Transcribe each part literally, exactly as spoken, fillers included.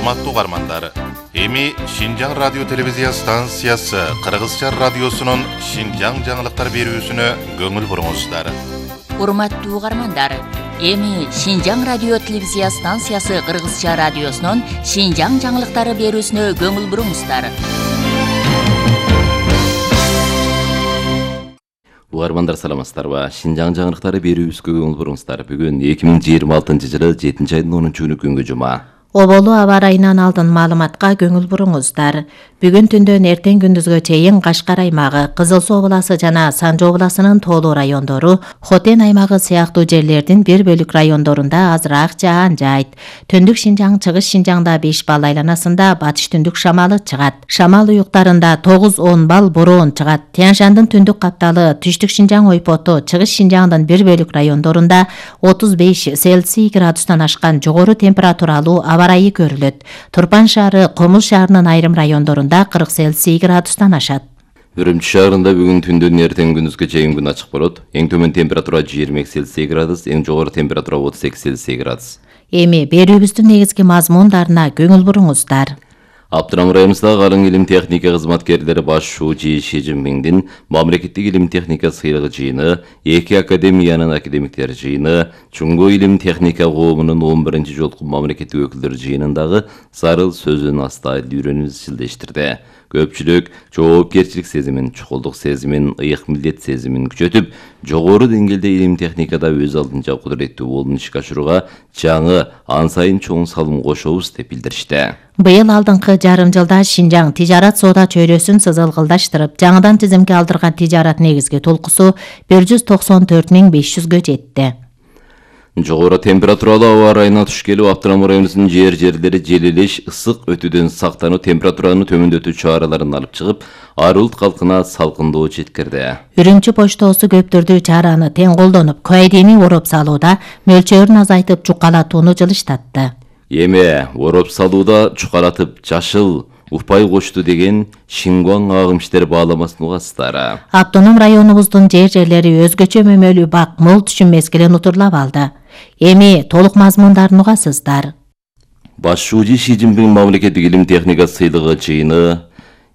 Урматтуу угармандар, эми Шинжаң радио телевизия станциясы Кыргызча радиосунун Шинжаң жаңылыктар берүүсүнө көңүл буруңуздар. Урматтуу угармандар, эми Шинжаң радио телевизия станциясы Кыргызча радиосунун Шинжаң жаңылыктары берүүсүнө көңүл буруңуздар. Угармандар саламатсыздарбы? Шинжаң жаңылыктары берүүбүзгө көңүл буруңуздар. Бүгүн эки миң жыйырма алтынчы жылы жетинчи айдын онунчу күнү күнгө жума. Оболу аба ырайынан алдын маалыматка көңүл буруңуздар. Бүгүн түндөн эртең күндүзгө чейин Кашкар аймагы, Кызыл Суу обласы жана Санжы обласынын тоолуу райондору, Хотен аймагы сыяктуу жерлердин бир бөлүк райондорунда азыраак жаан жайт. Түндүк Шинжаң, Чыгыш Шинжаңда беш балл айланасында батыш түндүк шамалы чыгат. Шамал уюктарында тогуз он балл бороон чыгат. Тянь-Шандын түндүк капталы, Түштүк Шинжаң ойпоту, Чыгыш Шинжаңдын бир бөлүк райондорунда отуз беш Цельсий градустан ашкан жогору температуралуу аба ырайы көрүлөт. Турпан шаары, Комуз шаарынын айрым райондорунда кырк Цельсий градустан ашат. Үрүмчү шаарында бүгүн түндөн эртең күндүзгө чейин күн ачык болот. Эң төмөн температура жыйырма эки Цельсий градус, эң жогору температура отуз эки Цельсий градус. Эми берүүбүздүн негизги мазмундарына көңүл буруңуздар. Абдрам районундагы калың илим техника кызматкерлери баш шууучу Ши Цзиньпиндин мамлекеттик илим техника сыйлыгы жыйыны, эки академиянын академиктер жыйыны, Чуңгу илим техника коомунун он биринчи жолку мамлекеттик өкүлдөр жыйынындагы зарыл сөзүн астайыл үйрөнүүбүз чилдештирди. Көпчүлүк жоопкерчилик сезимин, чукулдук сезимин, ыйык милдет сезимин күчөтүп, жогору деңгээлде илим техникада өз алдынча кудуреттүү болуп ишке ашырууга жаңы, ан сайын чоң салым кошобуз деп билдиришти. Быйыл алдыңкы жарым жылда Шинжаң тижарат соода чөйрөсүн сызылгылдаштырып, жаңыдан тизимге алдырган тижарат негизги толкусу бир жүз токсон төрт миң беш жүзгө жетти. Жогору температуралуу аба ырайына туш келип, Абдрам районунун жер жерлери желелеш, ысык өтүүдөн сактануу, температураны төмөндөтүү чараларын алып чыгып, ар улут калкына салкындоо жеткирди. Үрүмчү поштосу көптөрдүү чараны тең колдонуп, кайдени ороп салууда мөлчөрүн азайтып, чукалатууну жылыштатты. Эми ороп салууда чукалатып жашыл упай кошту деген Шингуаң агымчтер бааламасын угасыздар. Автоном районубуздун жер жерлери өзгөчө мөмөлүү бак мол түшүн мезгилин утурлап алды. Эми толук мазмундарын угасыздар. Баш шууучу Ши Цзиньпин мамлекеттик илим техника сыйлыгы жыйыны,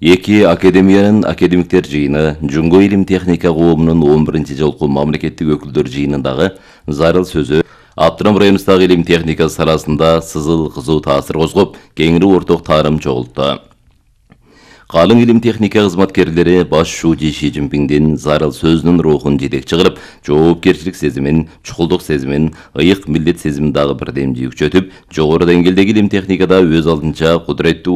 эки академиянын академиктер жыйыны, Чуңгу илим техника коомунун он биринчи жолку мамлекеттик өкүлдөр жыйынындагы зарыл сөзү Абдрам районундагы илим техника саласында сызыл кызуу таасир козгоп, кеңири орток таарым чогулту. Калың илим техника кызматкерлери баш шууучу Ши Цзиньпиндин зарыл сөзүнүн рухун жетекчи кылып, жоопкерчилик сезимин, чукулдук сезимин, ыйык милдет сезимин дагы бирдемдүү күчөтүп, жогору деңгээлдеги илим техникада өз алдынча кудуреттүү